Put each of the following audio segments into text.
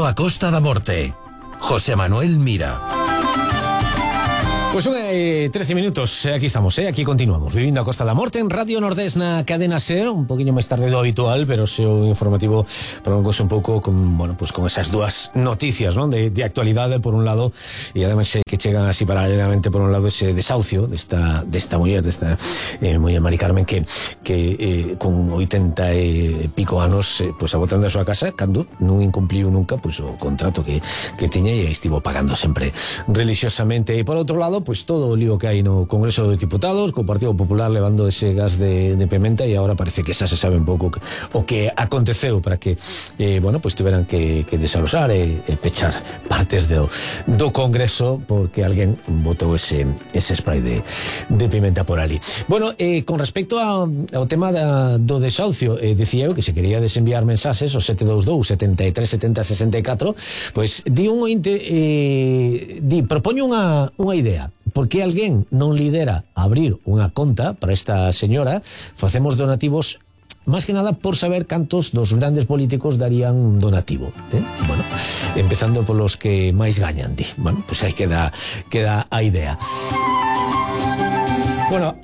Vivindo a Costa da Morte. José Manuel Mira. Pues 13 minutos, aquí estamos, aquí continuamos, Vivindo a Costa da Morte en Radio Nordés na cadena SER, un poquinho máis tarde do habitual, pero seu informativo prolongose un pouco con, bueno, pues con esas dúas noticias, ¿no? de actualidade por un lado, e además que chegan así paralelamente por un lado ese desahucio desta muller, muller Mari Carmen que con 80 e pico anos pues agotando a súa casa cando non incumpliu nunca pues o contrato que tiña e estivo pagando sempre religiosamente. E por outro lado, pues todo o lío que hai no Congreso dos Diputados, co Partido Popular levando ese gas de pimenta, e agora parece que xa se sabe un pouco o que aconteceu para que bueno, pues tuveran que desalosar e pechar partes do Congreso porque alguén botou ese spray de pimenta por ali. Bueno, con respecto ao tema do desahucio, dicía eu que se quería desenviar mensaxes ao 722 73 70 64, pues di un ointe, propoño unha idea. Por que alguén non lidera abrir unha conta para esta señora? Facemos donativos máis que nada por saber cantos dos grandes políticos darían un donativo, Bueno, empezando polos que máis gañan, di. Bueno, pues aí queda a idea. Bueno,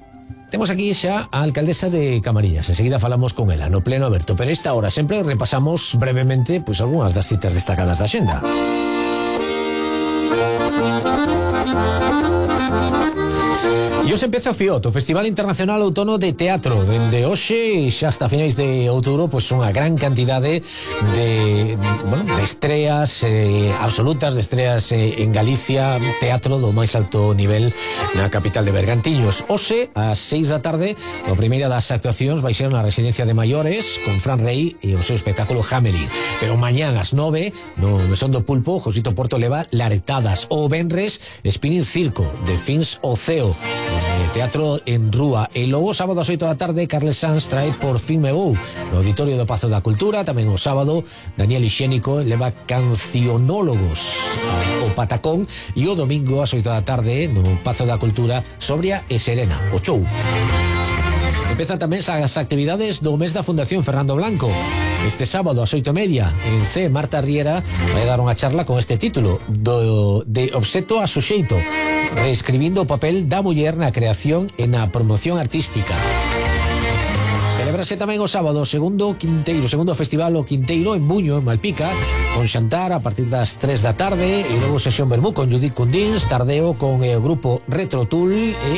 temos aquí xa a alcaldesa de Camariñas. Enseguida falamos con ela no pleno aberto, pero esta hora sempre repasamos brevemente pues algunhas das citas destacadas da xenda. E hoxe empeza o FIOT, o Festival Internacional Outono de Teatro. Dende hoxe xa hasta finais de outubro, pois unha gran cantidade de estreas absolutas, de estreas en Galicia, teatro do máis alto nivel na capital de Bergantiños. Hoxe, ás 6 da tarde, a primeira das actuacións vai ser na residencia de maiores con Fran Rey e o seu espectáculo Hammering. Pero mañán ás 9, no Mesón do Pulpo, Josito Porto leva Laretadas. O venres, Spinning Circo, de Fins o Ceo, teatro en Rúa. E logo sábado ás 8 da tarde Carles Sanz trae Por fin me vou no Auditorio do Pazo da Cultura. Tamén o sábado Daniel Ixénico leva Cancionólogos o Patacón, e o domingo ás 8 da tarde no Pazo da Cultura Sobria e Serena, o show. Empezan tamén as actividades do mes da Fundación Fernando Blanco. Este sábado ás 8:30 en C, Marta Riera vai dar unha charla con este título de obxecto a suxeito, reescribindo o papel da muller na creación e na promoción artística. Celebrase tamén o sábado o segundo festival o Quinteiro en Buño, en Malpica, con xantar a partir das 3 da tarde e logo sesión vermú con Judith Cundins, tardeo con o grupo Retro Tool e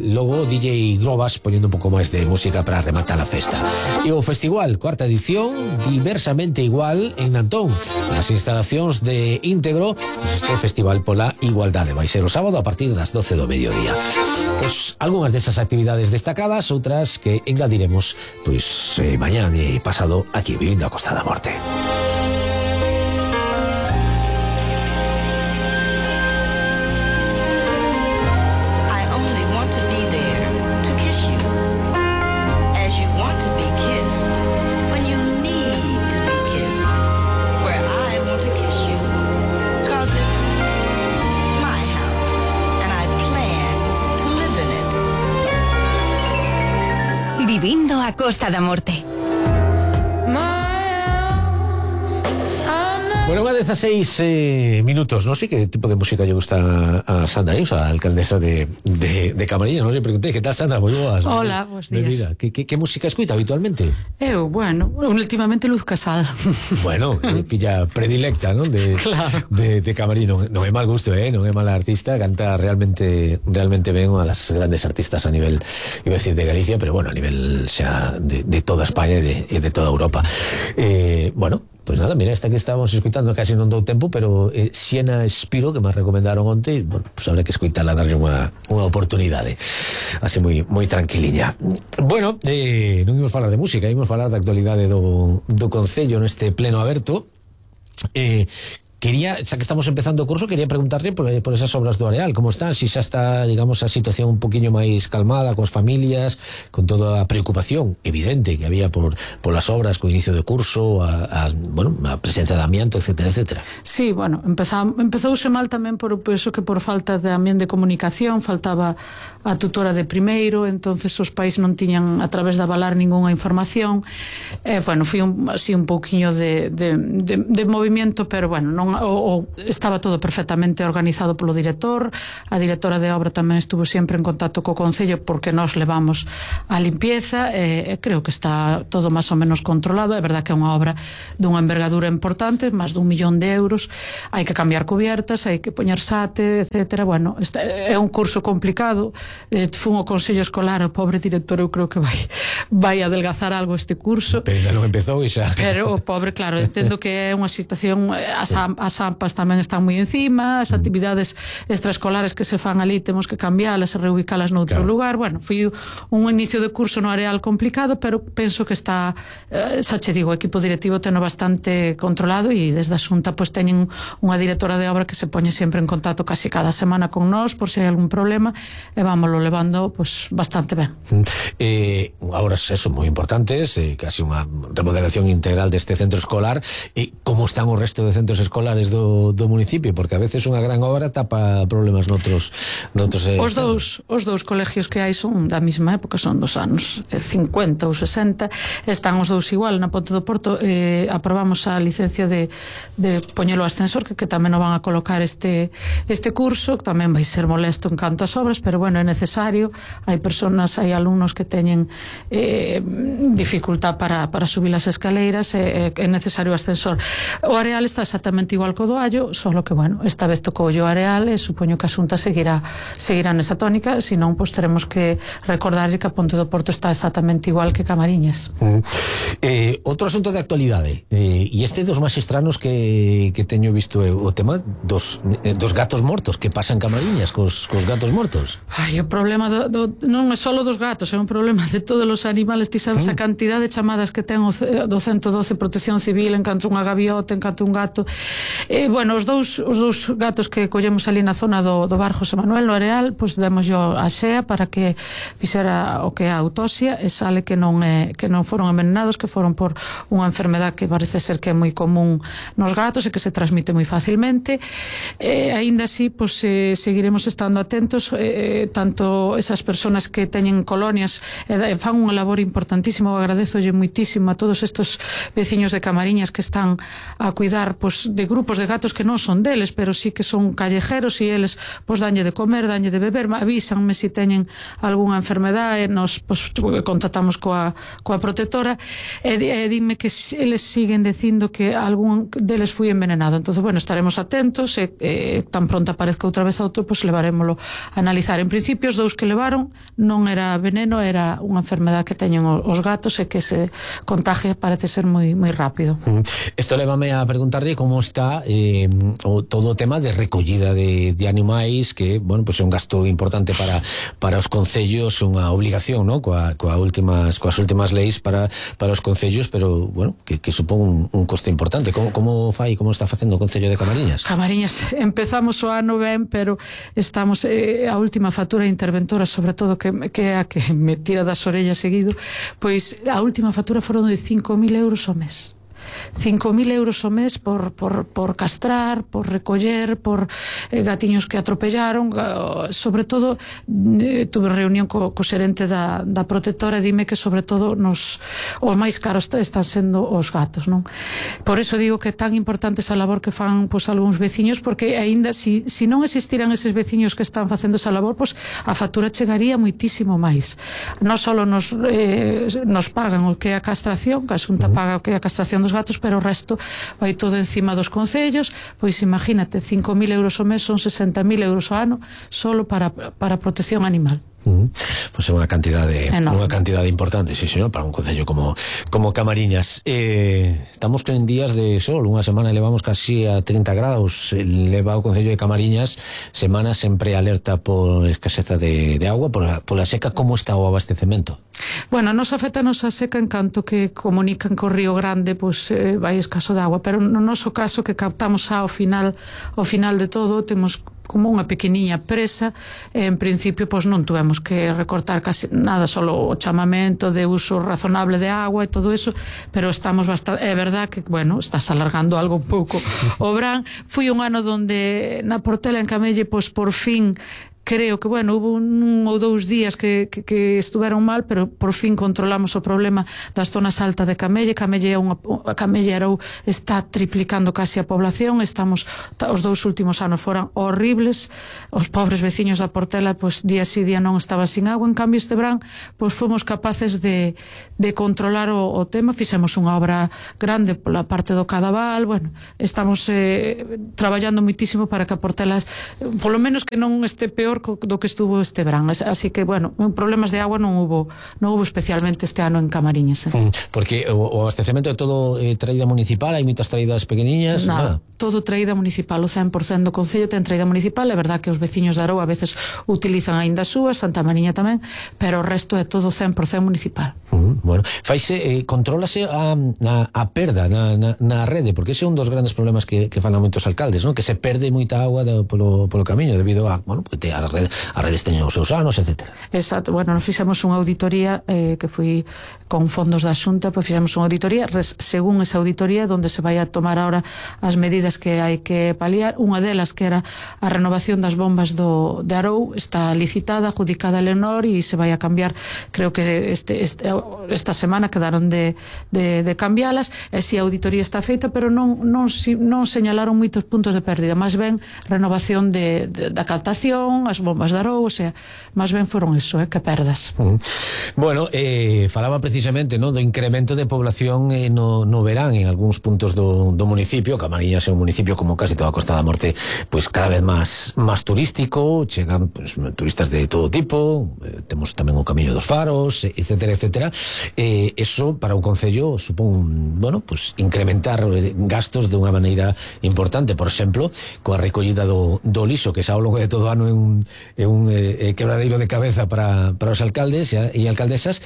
logo DJ Grobas poñendo un pouco máis de música para rematar a festa. E o festival, cuarta edición, diversamente igual en Nantón, nas instalacións de Íntegro, este festival pola igualdade vai ser o sábado a partir das 12 do mediodía. Pois algunhas desas actividades destacadas, outras que engadiremos pois mañán e pasado aquí Vivindo a Costa da Morte. Vivindo a Costa da Morte. Bueno, unha 16 minutos, non sei que tipo de música lle gusta a Sandra Ius, a alcaldesa de Camariñas. Non sei, preguntei, que tal, Sandra? Moi boas. Hola, bons días. Que música escuita habitualmente? Eu, bueno, últimamente Luz Casal. Bueno, filla predilecta, non? Claro. De Camariñas. Non é mal gusto, non é mala artista, canta realmente ben, unha das grandes artistas a nivel, iba a decir de Galicia, pero bueno, a nivel xa de toda España e de toda Europa. Bueno, pues nada, mira, esta que estábamos escuitando casi non dou tempo, pero Siena Spiro, que me recomendaron onte, bueno, pues habrá que escuitarla, darlle unha oportunidade así moi tranquiliña. Bueno, non imos falar de música, imos falar da actualidade do Concello neste pleno aberto, Quería, xa que estamos empezando o curso, quería preguntarle por esas obras do Areal, como están, si xa está, digamos, a situación un poquinho máis calmada coas familias, con toda a preocupación evidente que había por las obras, co inicio do curso, a presencia de amianto, etcétera, etcétera. Sí, bueno, empezouse mal tamén por eso que por falta tamén de comunicación, faltaba a tutora de primeiro, entonces os pais non tiñan a través de avalar ningunha información. Bueno, foi así un pouquiño de movimiento, pero bueno, non estaba todo perfectamente organizado polo director. A directora de obra tamén estuvo sempre en contacto co Concello porque nós levamos a limpieza, creo que está todo máis ou menos controlado. É verdad que é unha obra dunha envergadura importante, máis de 1 millón de euros, hai que cambiar cubiertas, hai que poñer sate, etcétera. Bueno, é un curso complicado. Fun ao Consello Escolar, o pobre director eu creo que vai adelgazar algo este curso, pero ainda non empezou e xa. Pero o pobre, claro, entendo que é unha situación, as AMPAs tamén están moi encima, as actividades extraescolares que se fan ali temos que cambialas e reubicalas noutro lugar. Bueno, foi un inicio de curso no Areal complicado, pero penso que está, xa che digo, o equipo directivo teno bastante controlado e desde a Xunta pois teñen unha directora de obra que se poñe sempre en contacto casi cada semana con nós por se hai algún problema e vámoslo levando pois bastante ben. Obras son moi importantes, casi unha remodelación integral deste centro escolar. Como están o resto de centros escolares do municipio? Porque a veces unha gran obra tapa problemas noutros os dous colegios que hai son da mesma época, son dos anos 50 ou 60, están os dous igual. Na Ponte do Porto aprobamos a licencia de poñelo ao ascensor, que tamén o van a colocar este curso, que tamén vai ser molesto en canto as obras, pero bueno, é necesario. Hai alumnos que teñen dificultad para subir as escaleiras, é necesario o ascensor. O Areal está exactamente igual co do Allo, solo que bueno, esta vez tocou o Areal e supoño que a Xunta seguirá nesa tónica, senón pois teremos que recordar que a Ponte do Porto está exactamente igual que Camariñas. Outro asunto de actualidade, e este dos máis estranos que teño visto, o tema dos gatos mortos. Que pasa en Camariñas cos gatos mortos? Ai, o problema non é só dos gatos, é un problema de todos os animales. Ti sabes a cantidad de chamadas que ten o 112 Protección Civil en canto unha gaviota, en canto un gato. Bueno, os dous gatos que collemos ali na zona do bar José Manuel no Areal, pois demos a xea para que fixera o que é a autopsia e sale que non foron envenenados, que foron por unha enfermedad que parece ser que é moi común nos gatos e que se transmite moi facilmente. Aínda así, pois seguiremos estando atentos, tanto esas persoas que teñen colonias fan unha labor importantísima. Eu agradezolle moitísimo a todos estes veciños de Camariñas que están a cuidar pois de grupos de gatos que non son deles, pero sí que son callejeros, e eles pois danlle de comer, danlle de beber, avísanme se teñen algunha enfermedade, nos pois contactamos coa protectora e dime que eles siguen dicindo que algún deles foi envenenado. Entonces, bueno, estaremos atentos e tan pronto aparezca outra vez outro, pois levarémolo a analizar. En principio, os dous que levaron non era veneno, era unha enfermedade que teñen os gatos e que se contagia, parece ser moi rápido. Isto lévame a preguntarlle como está todo o tema de recollida de animais, que, bueno, pues é un gasto importante para os concellos, unha obligación, ¿no? coas últimas leis para os concellos, pero, bueno, que supón un coste importante. Como está facendo o Concello de Camariñas? Camariñas, empezamos o ano ben, pero estamos a última factura interventora, sobre todo, que é a que me tira das orellas seguido, pois a última factura foron de 5.000 euros ao mes. 5.000 euros ao mes por castrar, por recoller, por gatiños que atropellaron. Sobre todo, tuve reunión co xerente da protectora e dime que sobre todo os máis caros están sendo os gatos, non? Por eso digo que é tan importante esa labor que fan pois algúns veciños, porque aínda si non existiran eses veciños que están facendo esa labor, pois a factura chegaría moitísimo máis. Non só nos pagan o que é a castración, que a Xunta paga o que é a castración dos gatos, pero o resto vai todo encima dos concellos. Pois imagínate, 5.000 euros ao mes son 60.000 euros ao ano solo para protección animal. Pois é unha cantidade importante, sí, señor, para un concello como Camariñas. Estamos en días de sol, unha semana levamos casi a 30 graus, leva o concello de Camariñas semana sempre alerta por escaseza de agua, pola seca. Como está o abastecemento? Bueno, nos afectanos a seca en canto que comunican co Río Grande, pois vai escaso de agua, pero no noso caso que captamos ao final de todo, temos como unha pequeniña presa, en principio pois non tuvemos que recortar casi nada, solo o chamamento de uso razonable de agua e todo eso, pero estamos bastante, é verdad que, bueno, estás alargando algo un pouco o verán. Fui un ano donde na Portela en Camelle, pois por fin creo que, bueno, hubo un ou dous días que estuveron mal, pero por fin controlamos o problema das zonas altas de Camelle. Camelle está triplicando casi a población. Os 2 últimos anos foran horribles. Os pobres veciños da Portela, pois día sí día non estaban sin agua. En cambio este verán, pois fomos capaces de controlar o tema. Fixemos unha obra grande pola parte do Cadaval. Bueno, estamos traballando muitísimo para que a Portela, polo menos que non este peor do que estuvo este verán, así que, bueno, problemas de agua non hubo especialmente este ano en Camariñas. Porque o abastecemento é todo traída municipal, hai moitas traídas pequeniñas? Nada, todo traída municipal, o 100% do concello ten traída municipal. É verdad que os veciños de Arou a veces utilizan aínda as súas, Santa Mariña tamén, pero o resto é todo 100% municipal. Bueno, contrólase a perda na rede, porque ese é un dos grandes problemas que fan a moitos alcaldes, non? Que se perde moita agua polo camiño debido a, bueno, porque as redes teñen os seus anos, etc. Exacto, bueno, nos fixemos unha auditoría que foi con fondos da Xunta, pois fixemos unha auditoría, según esa auditoría donde se vai a tomar ahora as medidas que hai que paliar. Unha delas que era a renovación das bombas de Arou, está licitada, adjudicada a Leonor e se vai a cambiar, creo que esta semana quedaron de cambialas, e si a auditoría está feita, pero non señalaron moitos puntos de pérdida, máis ben renovación da captación, as bombas de Arou, o sea, máis ben foron eso, que perdas. Bueno, falaba precisamente, no, do incremento de población no verán en algúns puntos do municipio. Camariñas é un municipio, como casi toda a Costa da Morte, pues cada vez máis turístico, chegan pues, turistas de todo tipo, temos tamén o Camiño dos Faros, etcétera, etcétera. Eso para un concello supón, bueno, pues incrementar gastos de unha maneira importante. Por exemplo, coa recollida do lixo, que xa ao longo de todo o ano é un quebradeiro de cabeza para os alcaldes e alcaldesas.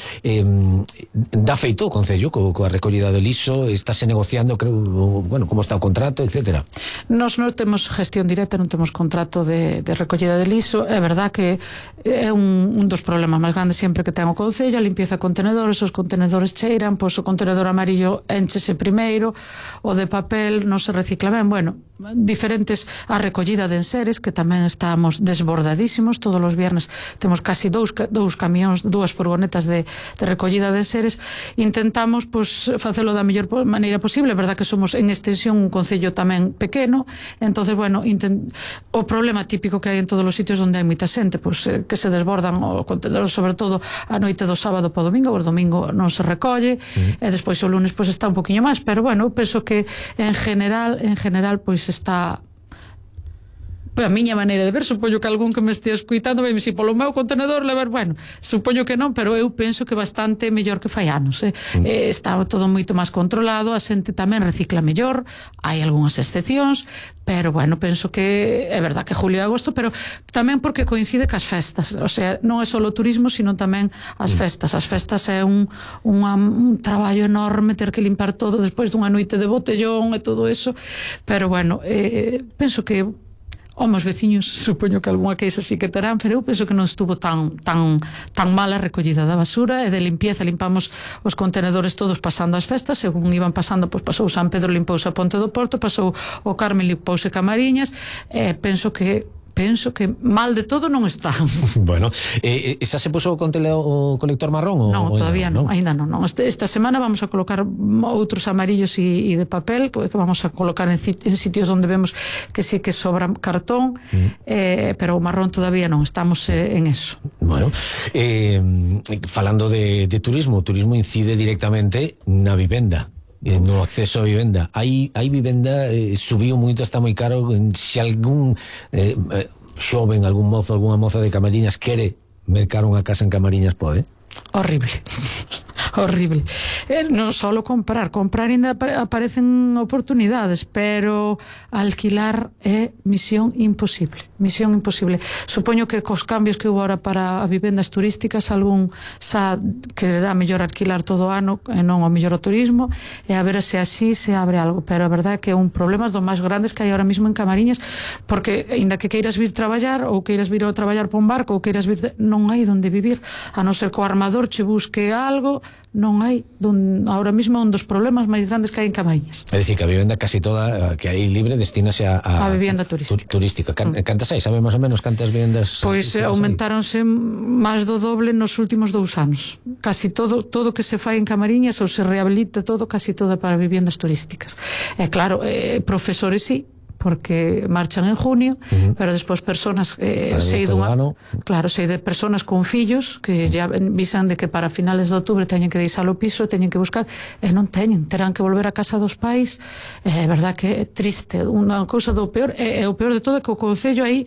Dá feito o concello coa recollida do lixo? Estáse negociando, creo, bueno, como está o contrato, etcétera? Nos non temos gestión directa, non temos contrato de recollida de lixo. É verdad que é un dos problemas máis grandes sempre que ten o concello, a limpieza de contenedores. Os contenedores cheiran, pois o contenedor amarillo enchese primeiro, o de papel non se recicla ben. Bueno, diferentes, a recollida de enseres, que tamén estamos desbordadísimos. Todos os viernes temos casi dous camións, 2 furgonetas de recollida de enseres. Intentamos pois facelo da mellor maneira posible. É verdad que somos en extensión un concello tamén pequeno, entonces, bueno, o problema típico que hai en todos os sitios onde hai moita xente, pois que se desbordan o contenedor, sobre todo a noite do sábado para o domingo. O domingo non se recolle, e despois o lunes pois está un poquinho máis, pero bueno, penso que en general pois está, a miña maneira de ver, supoño que algún que me estea escuitando vai me dicir, polo meu contenedor levar, bueno, supoño que non, pero eu penso que bastante mellor que fai anos. Está todo moito máis controlado, a xente tamén recicla mellor, hai algunhas excepcións, pero bueno, penso que é verdad que julio e agosto, pero tamén porque coincide cas festas, o sea, non é só o turismo, sino tamén as festas. As festas é un traballo enorme, ter que limpar todo despois dunha noite de botellón e todo eso, pero bueno, penso que os veciños, supoño que algunha queixa sí que terán, pero eu penso que non estuvo tan mala a recollida da basura e de limpieza. Limpamos os contenedores todos pasando as festas, según iban pasando, pois pasou San Pedro, limpouse a Ponte do Porto, pasou o Carmen, limpouse Camariñas. Penso que mal de todo non está. Bueno, xa se puso o colector marrón? Non, todavía non, ainda non. Esta semana vamos a colocar outros amarillos e de papel, que vamos a colocar en sitios onde vemos que sí que sobra cartón, pero o marrón todavía non, estamos en eso. Bueno, falando de turismo, o turismo incide directamente na vivenda, no acceso a vivenda. Hai vivenda, subiu moito, está moi caro. Se algún xoven, algún mozo, algunha moza de Camariñas quere mercar unha casa en Camariñas pode? Horrible. Horrible. Non só comprar ainda aparecen oportunidades, pero alquilar é misión imposible. Supoño que cos cambios que houve agora para as vivendas turísticas, algún xa quererá mellor alquilar todo o ano e non o mellor o turismo, e a ver se así se abre algo, pero a verdade é que é un problema dos máis grandes que hai ahora mismo en Camariñas, porque aínda que queiras vir traballar ou queiras vir a traballar por un barco ou queiras vir, non hai onde vivir, a non ser que o armador che busque algo, non hai ahora mismo un dos problemas máis grandes que hai en Camariñas. É dicir, que a vivenda casi toda que hai libre destínase a vivenda turística. Cantas hai? Sabe máis ou menos cantas vivendas? Pois aumentáronse máis do doble nos últimos 2 anos. Casi todo que se fai en Camariñas ou se rehabilita todo, casi todo para vivendas turísticas. E claro, profesores sí, porque marchan en junio, pero despois personas sei de personas con fillos que ya visan de que para finales de outubro teñen que deixar o piso, teñen que buscar e non teñen, terán que volver a casa dos pais. É verdad que é triste, unha cousa do peor, é o peor de todo, que o concello aí